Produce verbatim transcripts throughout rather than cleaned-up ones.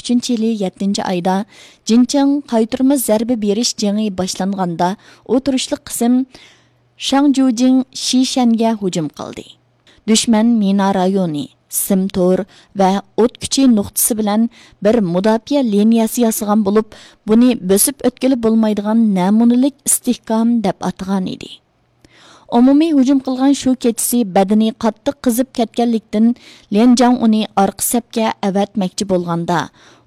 ئۈچىنچى يىلى يەتتىنچى ئايدا جىنچىڭ قايتۇرما زەربە بېرىش جېڭى باشلانغاندا، ئۇ تۇرۇشلۇق قىسىم شاڭجۇجىڭ شىشەنگە ھۇجۇم قىلدى. دۈشمەن مىنا رايونى، سىم تور ۋە ئوت كۈچى نۇقتىسى بىلەن بىر مۇداپىئە لىنىيەسى ياسىغان بولۇپ، بۇنى بۆسۈپ ئۆتكىلى بولمايدىغان نەمۇنىلىك ئىستىھكام دەپ ئاتىغان ئىدى. ئومۇمىي ھۇجۇم قىلغان شۇ كېچىسى بەدىنى قاتتىق قىزىپ كەتكەنلىكتىن، ليەنجاڭ ئۇنى ئارقا سەپكە ئەۋەتمەكچى بولغاندا،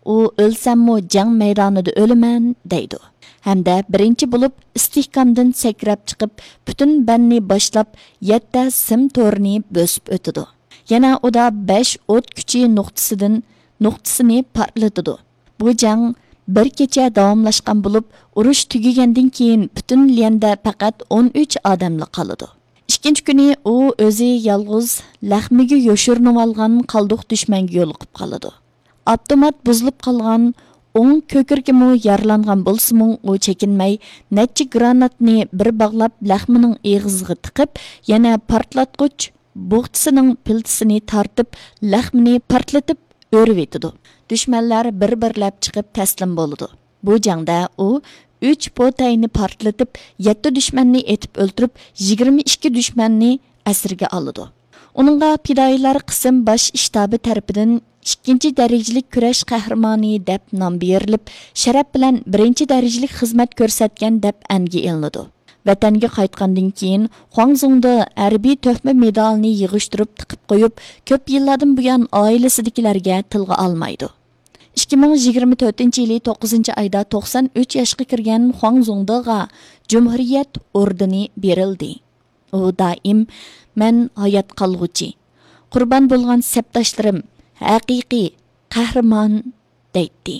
ئۇ «ئۆلسەممۇ جەڭ مەيدانىدا ئۆلىمەن» دەيدۇ. ھەمدە بىرىنچى بولۇپ ئىستىھكامدىن سەكرەپ چىقىپ، پۈتۈن بەننى باشلاپ، يەتتە سىم تورىنى بۆسۈپ ئۆتىدۇ. يەنە ئۇدا بەش ئوت كۈچى نۇقتىسىدىن، نۇقتىسىنى پارتلىتىدۇ. بۇ جەڭ بىر كېچە داۋاملاشقان بولۇپ، ئۇرۇش تۈگىگەندىن كېيىن پۈتۈن ليەندە پەقەت ئون ئۈچ ئادەملا قالىدۇ. ئىككىنچى كۈنى ئۇ ئۆزى يالغۇز لەخمىگە يوشۇرۇنۇۋالغان قالدۇق دۈشمەنگە يولۇقۇپ قالىدۇ. ئاپتومات بۇزۇلۇپ قالغان ئوڭ كۆكرىكىمۇ يارىلانغان بولسىمۇ، ئۇ چېكىنمەي نەچچە گراناتنى بىر باغلاپ لەخمىنىڭ ئېغىزىغا تىقىپ، يەنە پارتلاتقۇچ بوغچىسىنىڭ پىلتىسىنى تارتىپ، لەخمىنى پارتلىتىپ ئۆرۈۋېتىدۇ. دۈشمەنلەر بىر-بىرلەپ چىقىپ تەسلىم بولىدۇ. بۇ جەڭدە ئۇ ئۈچ پوتەينى پارتلىتىپ، يەتتە دۈشمەننى ئېتىپ ئۆلتۈرۈپ، يىگىرمە ئىككى دۈشمەننى ئەسىرگە ئالىدۇ. ئۇنىڭغا پىدائىيلار قىسىم باش شتابى تەرىپىدىن «ئىككىنچى دەرىجىلىك كۈرەش قەھرىمانى» دەپ نام بېرىلىپ، شەرەپ بىلەن بىرىنچى دەرىجىلىك خىزمەت كۆرسەتكەن دەپ ئەنگە ئېلىنىدۇ. ۋەتەنگە قايتقاندىن كېيىن، خۇاڭزۇڭدا ھەربىي تۆھپە مېدالىنى يىغىشتۇرۇپ تىقىپ قويۇپ، كۆپ يىللاردىن بۇيان ئائىلىسىدىكىلەرگە تىلغا ئالمايدۇ. ئىككى مىڭ يىگىرمە تۆتىنچى يىلى توققۇزىنچى ئايدا توقسان ئۈچ ياشقا كىرگەن خۇاڭزۇڭدېغا جۇمھۇرىيەت ئوردېنى بېرىلدى. ئۇ دائىم «مەن ھايات قالغۇچى، قۇربان بولغان سەپداشلىرىم ھەقىقىي قەھرىمان» دەيتتى.